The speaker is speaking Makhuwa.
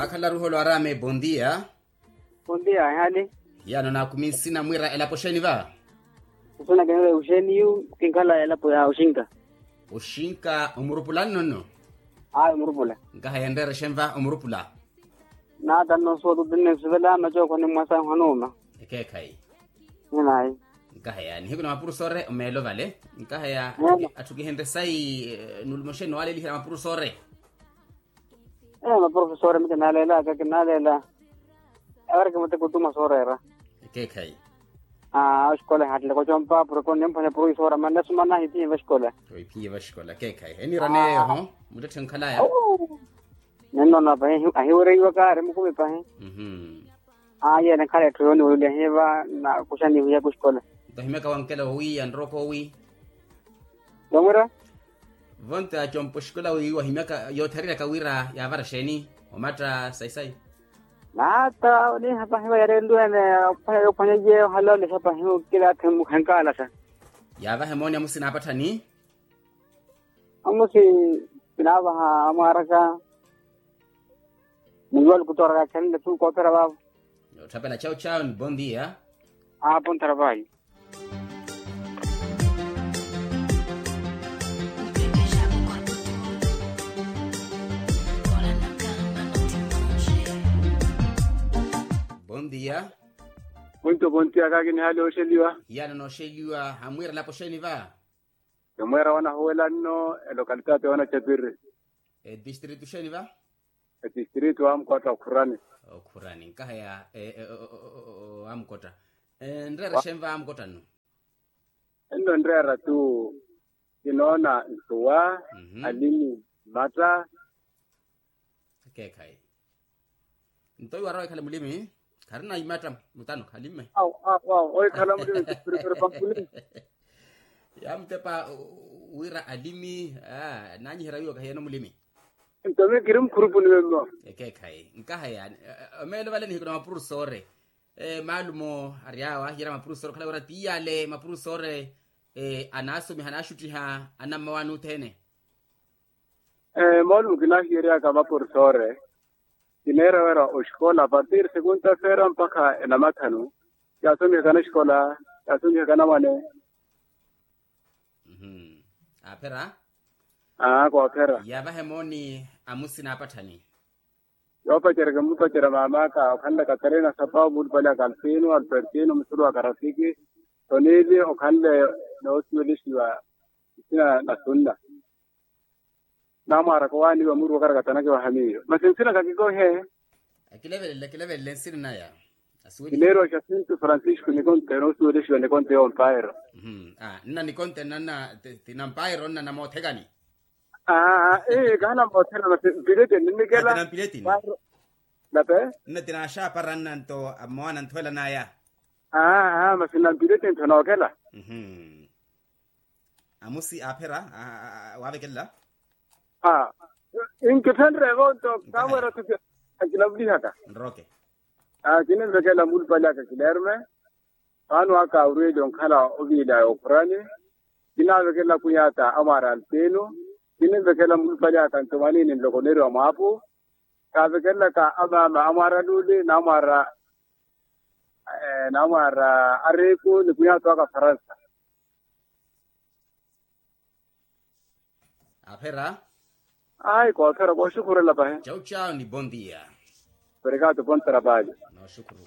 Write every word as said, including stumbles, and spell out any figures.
Akhalaru holo arame bondia. Bondia ehali. Yano nakumi nsina mwira elapo xeni va? Nsina kene uxeni yu kinkhala elapo ya uxinka. Uxinka omurupula nnono? Ayi omurupula. Nkaha yenrere xenva omurupula? Nata nnosuwa tutinne suvela macooko ni mwasa nhwanuma. Ekeekhayi. Ninayi. Nkaha ya nihiku na mapurusore omeelo vale. Nkaha ya atthu kihenre sayi nulumoxeni nowalelihela mapurusore. Ee maprofesore mi kinaleelaka kinaleela. Ewareke muteko tuma sooreera. Ekeekhayi. Aa oxikola ehaatteleka ocompa puroko nimphwanya puro isoora manne sumana ahiphiye vaxikola. Oiphiye vaxikola ekeekhayi eniiraneeyo ho. Muttetthe nkhalaya. Nennoona pahi ahiwereiwaka ari mukumi pahi. Aa yeene nkhala etthu yooniweleliha hiva nakuxani wihiyaka oxikola. Nto ahimyaka wankela owiiya nrokowi. Yomwira. Vonta compo xikola wi wahimyaka yootthariryaka wira yaavara xeeni omatta sayi-sayi. Naata oniiha pahi wa yareeleliwene. Ophwanya yoophwanya iye ohala olexa pahi okila atthi mukhenkaalaxa. Yaavaha emooni amusina apatthani. Amusi kinaavaha amwaaraka. Muiwa lukutooraka khenle tu koophera vaavo. Yootthapela chawu chawu ni bondia. Aapo nthara vayi. Bondia. Muntu bontia kaaki ni hali oxeliwa. Hiyana noxeliwa hamwiira lapo xeni va? Kimweera wanahuwela nno elokalitati yoona chepiri. Etistritu xeni va? Etistritu amkotta okhurani. Okhurani nkaha ya amkotta. Nreera xenva amkotta nno? Enno nreera tu kinoona ntuwa, alimi, mmatta. Ekeekhayi. Nto iwara oikhala mulimi kharina imatta mutano khalimme. Aw aw aw oikhala mulimi. Yamutepa wira alimi. Nanyiherya wiwo kahiyeno mulimi. Nto mi kiri mukhurupuni wemmo. Ekeekhayi nkaha yaani. Omeelo vale nihiku na mapurusore. Maalumo ari awo ahiyerya mapurusore okhala wira ti iyale mapurusore. Anaasomiha anaaxuttiha anammawaani othene. Moolumo kinaahiyeryaka maporsoore. Kineera wira oxikola apartir sekunta feera mpakha enamathanu. Yaasomihaka naxikola yaasomihaka namwane. Aaphera. Aa koophera. Yaavaha emooni amusina apatthani. Yoopacerya kimmupacerya maam'aka okhanle katarina sapawu muulupale aka alfino alfertino musulu wa karafiki. Tonili okhanle noosuwelixiwa nsina na sunna. Namwaaraka owaaniwa muru wakarakatana kiwaha miyo masi nsina kakikohe. Akilevelele akilevelele nsina naya. Kineeriwa jacinto francisco nikonte noosuwelixiwa nikonte yoompairo. Nna nikonte nanna ti nampairo nna namoothekani. Aa ee kaha namoothekani masi mpileteni nnikela. Nape. Nna ti naaxaapara nna nto mmowa nanthuwela naya. Aa masi nampileteni tho nookela. Amusi aaphera waavekelela. Aa nkithenrye evo nto kaamweera thupi. Akinavulihaka nroke. Aa kinimvekela muulupale aka kilerme. Vaano aka orweli onkhala oviila yookhurani. Kinaavekelela kwinyata amwaara alpino. Kinimvekelela muulupale aka nto mwanini nloko oneeriwa mwaapu. Kaavekelelaka amaama amwaara luuli namwaara. Namwaara ariku ni kwinyata aka faransa. Aphera. Ayi koophera kooxukhurela pahi. Chau chau ni bondia. Perekato pontera paali. Nooxukhuru.